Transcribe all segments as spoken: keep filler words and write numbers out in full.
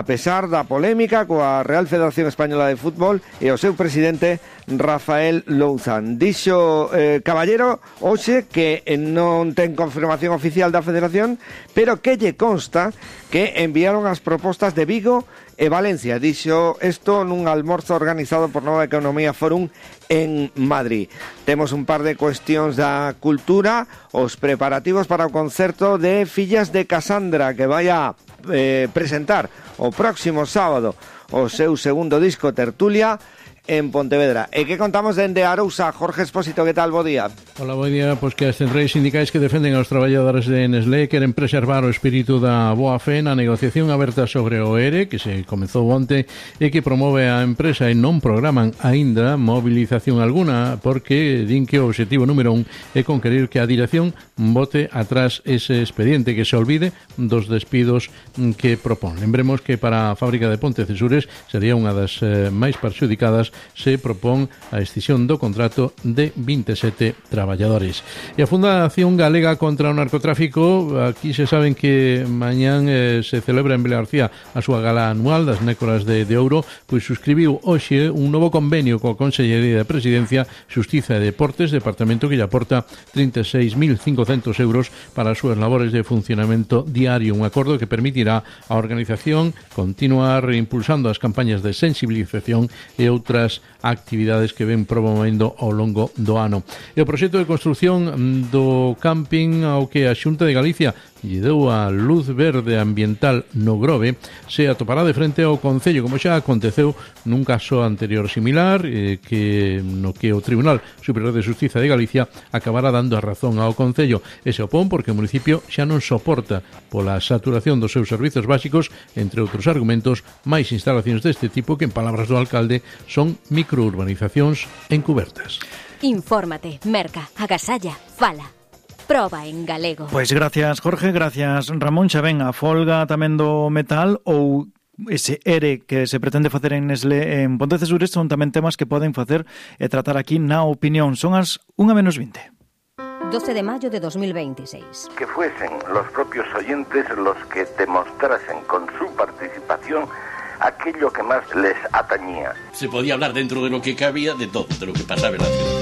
A pesar da polémica coa Real Federación Española de Fútbol e o seu presidente Rafael Louzán. Dixo eh, Caballero hoxe que non ten confirmación oficial da Federación, pero que lle consta que enviaron as propostas de Vigo e Valencia. Dixo isto nun almorzo organizado por Nova Economía Forum en Madrid. Temos un par de cuestións da cultura, os preparativos para o concerto de Fillas de Casandra, que vai a eh, presentar o próximo sábado o seu segundo disco Tertulia en Pontevedra. E que contamos dende Arousa? Jorge Expósito, que tal? Bo día. Hola, bo día. Pois que as centrais sindicais que defenden aos traballadores de Nestlé queren preservar o espírito da boa fe na negociación aberta sobre o E R E, que se comezou onte e que promove a empresa, e non programan aínda movilización alguna, porque din que o obxectivo número un é conquerir que a dirección bote atrás ese expediente, que se olvide dos despidos que propón. Lembremos que para a fábrica de Pontecesures sería unha das eh, máis perxudicadas se propón a escisión do contrato de vinte e sete traballadores. E a Fundación Galega contra o Narcotráfico, aquí se saben que mañán eh, se celebra en Vilagarcía a súa gala anual das Nécoras de, de Ouro, pois suscribiu hoxe un novo convenio coa Consellería de Presidencia, Xustiza e Deportes, departamento que lle aporta trinta e seis mil cincocentos euros para as súas labores de funcionamento diario, un acordo que permitirá a organización continuar impulsando as campañas de sensibilización e outras actividades que ven promovendo ao longo do ano. E o proxecto de construción do camping ao que a Xunta de Galicia lle deu a luz verde ambiental no Grove se atopará de frente ao Concello, como xa aconteceu nun caso anterior similar, eh, que no que o Tribunal Superior de Xustiza de Galicia acabará dando a razón ao Concello. E se opón porque o municipio xa non soporta pola saturación dos seus servizos básicos, entre outros argumentos, máis instalacións deste tipo que, en palabras do alcalde, son microurbanizacións encubertas. Infórmate, merca, agasalla, fala. Proba en galego. Pois gracias, Jorge, gracias, Ramón. Xa ven a folga tamén do metal ou ese E R E que se pretende facer en Nestlé en Pontecesures son tamén temas que poden facer e tratar aquí na opinión. Son as unha menos vinte. doce de mayo de dos mil veintiséis. Que fuesen los propios oyentes los que demostrasen con su participación aquello que más les atañía. Se podía hablar dentro de lo que cabía de todo, de lo que pasaba en la ciudad.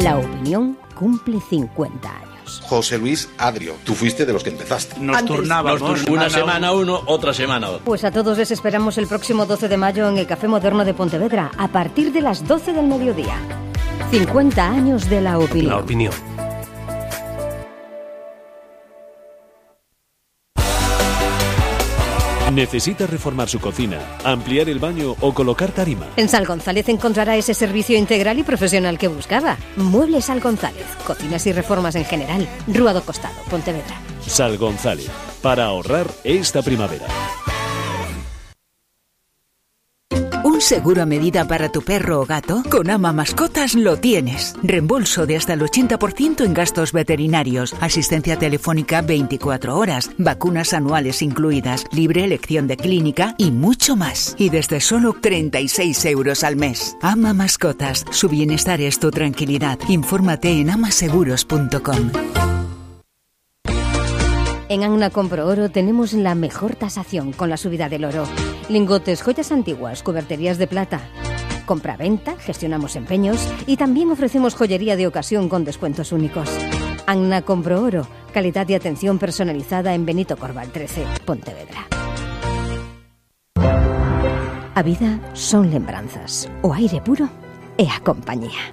La opinión cumple cincuenta años. José Luis Adrio, tú fuiste de los que empezaste. Nos Antes, turnábamos. Nos turn- una semana uno, otra semana otro. Pues a todos les esperamos el próximo doce de mayo en el Café Moderno de Pontevedra, a partir de las doce del mediodía. cincuenta años de la opinión. La opinión. ¿Necesita reformar su cocina, ampliar el baño o colocar tarima? En Sal González encontrará ese servicio integral y profesional que buscaba. Muebles Sal González, cocinas y reformas en general. Rúa do Costado, Pontevedra. Sal González, para ahorrar esta primavera. ¿Un seguro a medida para tu perro o gato? Con Ama Mascotas lo tienes. Reembolso de hasta el ochenta por ciento en gastos veterinarios, asistencia telefónica veinticuatro horas, vacunas anuales incluidas, libre elección de clínica y mucho más. Y desde solo treinta y seis euros al mes. Ama Mascotas, su bienestar es tu tranquilidad. Infórmate en amaseguros punto com. En Agna Compro Oro tenemos la mejor tasación con la subida del oro. Lingotes, joyas antiguas, cuberterías de plata. Compra-venta, gestionamos empeños y también ofrecemos joyería de ocasión con descuentos únicos. Agna Compro Oro, calidad y atención personalizada en Benito Corval trece, Pontevedra. A vida son lembranzas, o aire puro e a compañía.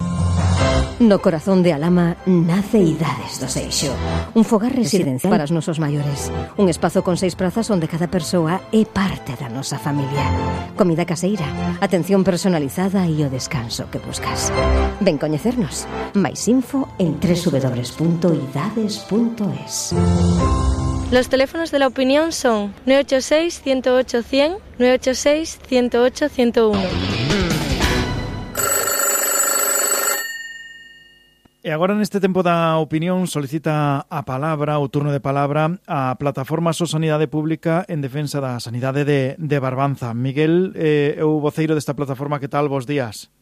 No corazón de Alama nace Idades do Seixo, un fogar residencial para os nosos maiores, un espazo con seis prazas onde cada persoa é parte da nosa familia, comida caseira, atención personalizada e o descanso que buscas. Ven coñecernos. Mais info en doble u doble u doble u punto idades punto es. Los teléfonos de la opinión son nueve ocho seis, ciento ocho, cien, nueve ocho seis, ciento ocho, ciento uno. E agora neste tempo da opinión solicita a palabra, o turno de palabra, a Plataforma So Sanidade Pública en defensa da sanidade de, de Barbanza. Miguel, eh, o voceiro desta plataforma, que tal? Bos días.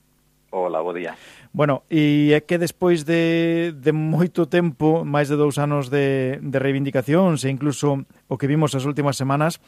Hola, bo día. Bueno, e é que despois de, de moito tempo, máis de dous anos de, de reivindicacións e incluso o que vimos as últimas semanas,